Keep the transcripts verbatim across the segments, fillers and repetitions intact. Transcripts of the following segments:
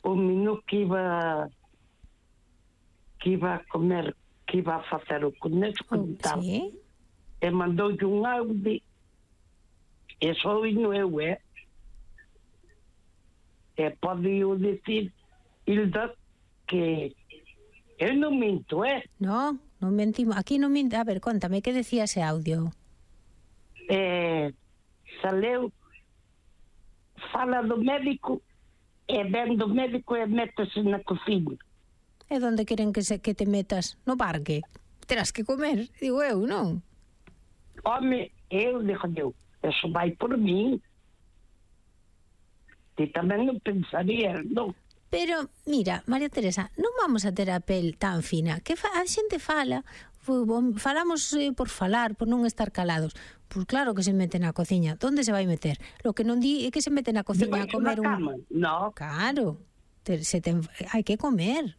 o menú que iba que iba a comer, que iba a facer o conejo Oh, tal. sí. E mandoulle un audio, e só vino eu, é? E pode eu dicir, Hilda, que eu non minto, é? No, non mentimos. Aquí non minto. A ver, contame, que decía ese audio? E saleu, fala do médico, e ven do médico e métese na cociña. E onde queren que, se, que te metas? No parque? Terás que comer, digo eu, non? Home, eu, digo eu, eso vai por mí. Ti tamén non pensaría, non? Pero, mira, María Teresa, non vamos a ter a pel tan fina. Que fa, a xente fala, falamos eh, por falar, por non estar calados. Pois claro que se mete na cociña. Onde se vai meter? Lo que non di é que se mete na cociña a comer un... No. Claro, te, se te, hai que comer.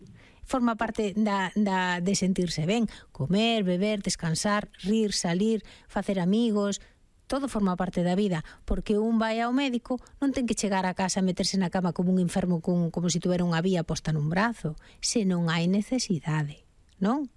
Forma parte da, da, de sentirse ben. Comer, beber, descansar, rir, salir, facer amigos... Todo forma parte da vida, porque un vai ao médico, non ten que chegar a casa a meterse na cama como un enfermo con, como se tuvera unha vía posta nun brazo, se non hai necesidade, non?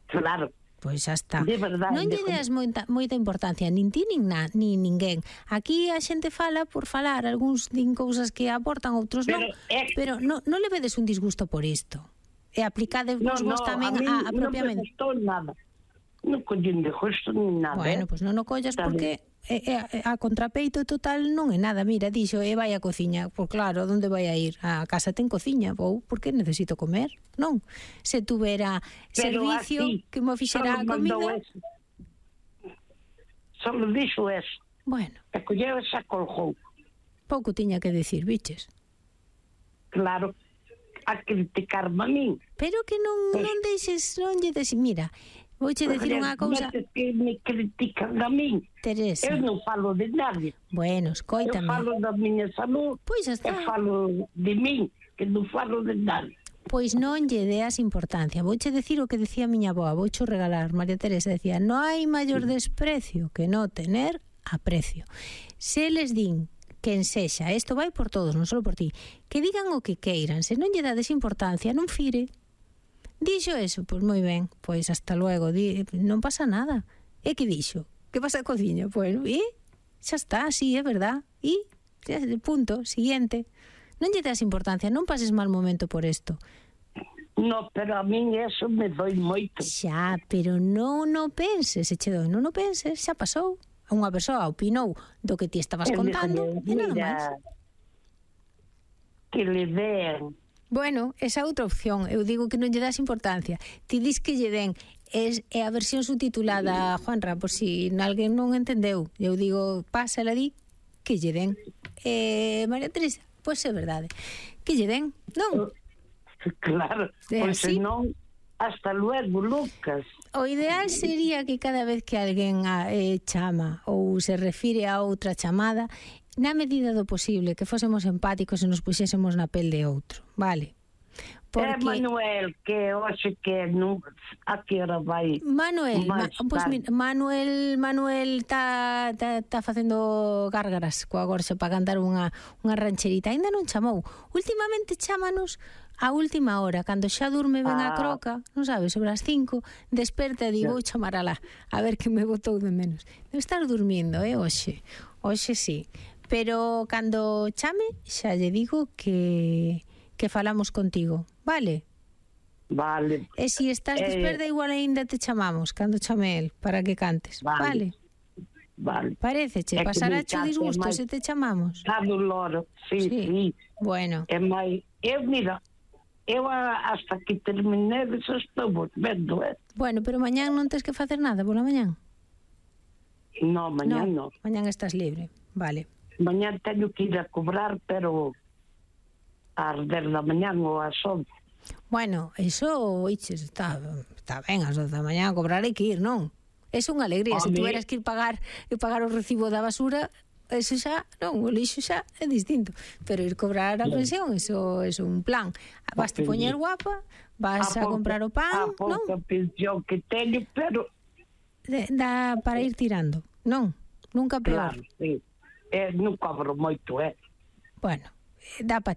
Claro. Pois xa está. De verdade. Non lle das moita, moita importancia, nin ti nin, na, nin ninguén. Aquí a xente fala por falar, algúns din cousas que aportan, outros non, pero, eh, pero non, non le vedes un disgusto por isto. E aplicade no, vos no, tamén a, a, a propiamente. Non me gustou nada. Non collín de justo nin nada. Bueno, pois pues non o collas porque é, é, a contrapeito total non é nada. Mira, dixo, e vai a cociña. Pois claro, onde vai a ir? A casa ten cociña, vou, porque necesito comer, non? Se tuvera pero servicio así, que mo fixera a comida... Eso. Solo dixo eso. Bueno. E colleu e xa colgou. Pouco tiña que decir, biches. Claro, a criticarme a min. Pero que non, pues, non deixes, non lle des... Mira... Vouche decir unha cousa... que me critican a min. Teresa. Eu non falo de nadie. Bueno, escoítame. Eu falo da miña salud. Pois está. Eu falo de min, que non falo de nadie. Pois non lle deas importancia. Vouche decir o que decía a miña avoa. Vouche regalar. María Teresa decía, no hai maior desprecio que no tener aprecio. Se les din quen sexa, isto vai por todos, non só por ti, que digan o que queiran. Se non lle dades importancia, non fire. Dixo eso, pois moi ben, pois hasta luego, di, non pasa nada. E que dixo? Que pasa a cociña? Bueno, e xa está, sí, é verdad. E, punto, siguiente. Non lle das importancia, non pases mal momento por isto. No, pero a min eso me doi moito. Xa, pero non o penses, se che doi, non o penses, xa pasou. Unha persoa opinou do que ti estabas contando e nada máis. Que le den... Bueno, esa outra opción, eu digo que non lle das importancia. Ti dis que lle den, é, é a versión subtitulada, Juanra, por si alguén non entendeu. Eu digo, pásala di, que lle den. Eh, María Teresa, pois é verdade. Que lle den, non? Claro, pois se non, hasta luego, Lucas. O ideal sería que cada vez que alguén eh, chama ou se refire a outra chamada, na medida do posible, que fósemos empáticos e nos puxésemos na pel de outro, vale? Porque... É Manuel, que hoxe que non, a que hora vai? Manuel, ma, pues, mira, Manuel Manuel está tá, tá facendo gárgaras coa gorxa para cantar unha, unha rancherita. Ainda non chamou. Últimamente chámanos a última hora, cando xa durme ben ah. a croca, non sabes, sobre as cinco, desperta e digo, vou chamar alá, a ver que me botou de menos. Debe estar durmindo, eh, hoxe. Hoxe sí. Pero cando chame, xa lle digo que, que falamos contigo, vale? Vale. E se si estás eh, desperta, igual ainda te chamamos, cando chame el, para que cantes, vale? Vale. Paréceche, pasará o disgusto se te chamamos? Está do loro, sí, sí. sí. Bueno. É máis, eu, mira, eu hasta que terminé eso estou volvendo, eh? Bueno, pero mañán non tens que facer nada pola mañán? No, mañán no. no. Mañán estás libre, vale. Mañán teño que ir a cobrar, pero ás dez da mañán ou ás once. Bueno, eso, iches, está, está ben, ás once da mañán a cobrar hai que ir, non? É unha alegría, se tuveras que ir pagar e pagar o recibo da basura, eso xa, non, o lixo xa é distinto, pero ir cobrar a pensión, eso é un plan. Vas te poñer guapa, vas a, a comprar o pan, non? A pouca pensión que teño, pero dá para ir tirando, non? Nunca peor. Claro, sí. Eh, non cobro moito, eh? Bueno, dá para